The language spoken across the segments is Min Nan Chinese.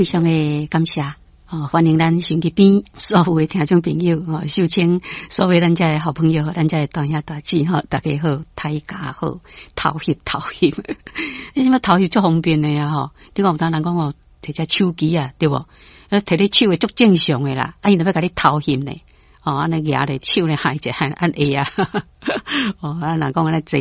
非常的感謝。哦，歡迎咱收音機邊所有的聽眾朋友，哦，秀清所有咱遮的好朋友，咱遮的大兄大姊，吼，大家好，大家好，偷翕偷翕，你什麼偷翕足方便的啊？吼，你講有當人講哦，提隻手機啊，對無？提咧手會足正常的啦，啊，𪜶就欲共你偷翕呢。哦，按呢舉咧手咧按一按按下啊，哦，啊，若講按呢坐，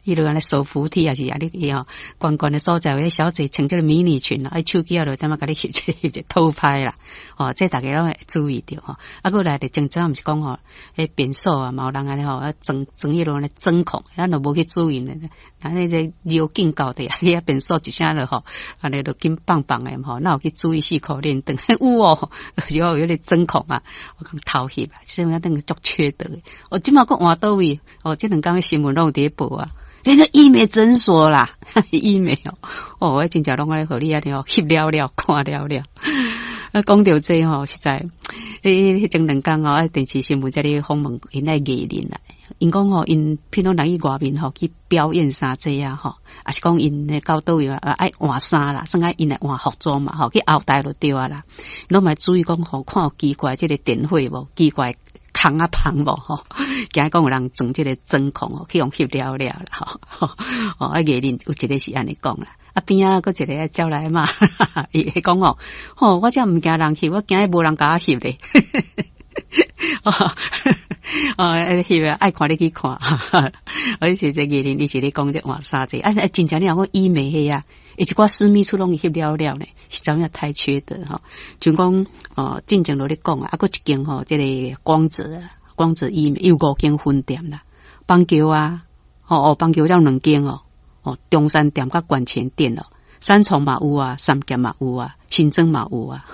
彼落按呢坐扶梯，抑是啊，你去吼，懸懸的所在，有的小姐穿這个迷你裙啊，手機仔就點仔共你翕一翕一偷拍啦，哦，這逐家攏會注意著吼。啊，閣來就前陣毋是講吼，彼便所啊，嘛有人按呢吼，啊裝裝彼落按呢針孔，咱都無去注意呢。啊，那個尿鏡到底，遐便所一聲就吼，按呢就緊放放的吼，哪有去注意四箍連燈？有哦，就是有彼個針孔啊，我講偷翕啊。這樣等於足缺德的。哦，這馬閣換佗位？哦，這兩工的新聞攏有佇咧報啊，連個醫美診所啦，醫美哦，哦，我真正攏愛予你按呢哦，翕了了，看了了。啊，講著這吼，實在，彼前兩工哦，啊，電視新聞才咧訪問𪜶的藝人啦。𪜶講吼，𪜶譬如人去外面吼去表演啥這啊吼，抑是講𪜶到佗位啊愛換衫啦，算愛𪜶來換服裝嘛吼，去後台就對啊啦。攏嘛注意講吼，看有奇怪這个電火無，奇怪空仔芳無吼，驚講有人裝這个針孔哦，去予翕了了啦吼。哦，啊藝人有一个是按呢講啦。啊邊仔閣一个走來嘛，伊會講哦，吼，我才毋驚人翕，我驚無人共我翕咧。哦，哦，翕啊，愛看你去看。我是這藝人，伊是咧講這換衫這，啊，真正你若講醫美彼啊，一寡私密處攏翕了了呢，實在影太缺德吼。像講哦，進前落咧講啊，啊，閣一間吼，這個光澤光澤醫美有五間分店啦，板橋啊，吼哦，板橋了兩間哦，哦，中山店佮館前店哦，三重嘛有啊，三峽嘛有啊，新莊嘛有啊。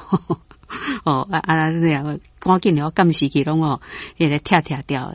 哦，啊啊，那樣趕緊了，監視器攏哦，彼个拆拆掉。